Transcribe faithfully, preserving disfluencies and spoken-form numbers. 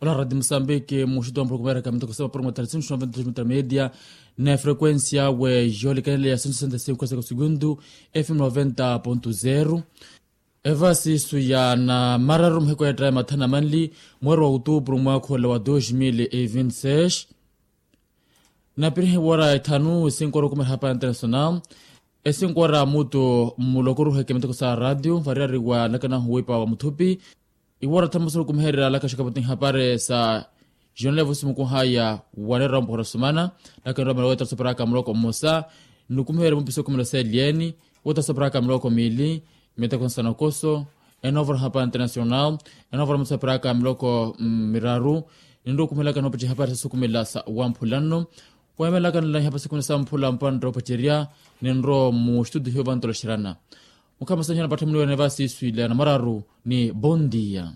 Ola radi musambiki muxutu wa mpurukumeeraka mitoko sapa puruma tarisintu noventa dos media, na frequencia we yoolikanele ya cento sessenta e cinco seka sugundu, fm noventa ponto zero. Evasi isu ya namararu muheko ya ttayi mathana manli, mweeri wa outubru mwaakhola wa dos mil e vinti seis. Napirihi wara ethanu esinkora okumeha hapari international, esinkora mutu mmulokoruheke miteko sa radio variyari wa nlakanahu wiipa wa muthupi. Iwora thamusa okumeherya lakaxaka vatihi hapari sa jonevo simukuhaya, waneera ompohora sumana. Lakanira omela wetara soperaka muloko mmosa, nikumeherya mupisa okumela sa elieni, wetara soperaka miloko miili, miteko nsanokoso, enovora hapari international, enovora mutu soperaka miloko miraru. Ninrowa okumehelaka noopaci hapari sa sukumela sa wamphula nno. Weemelaka nlahi hapari sukumela sa mphula mpantta opacerya. Ninrowa muxitudiho vantoloxerana. Mukhamasanihana patthamuni wene vasi iswile anamararu, ni bondia.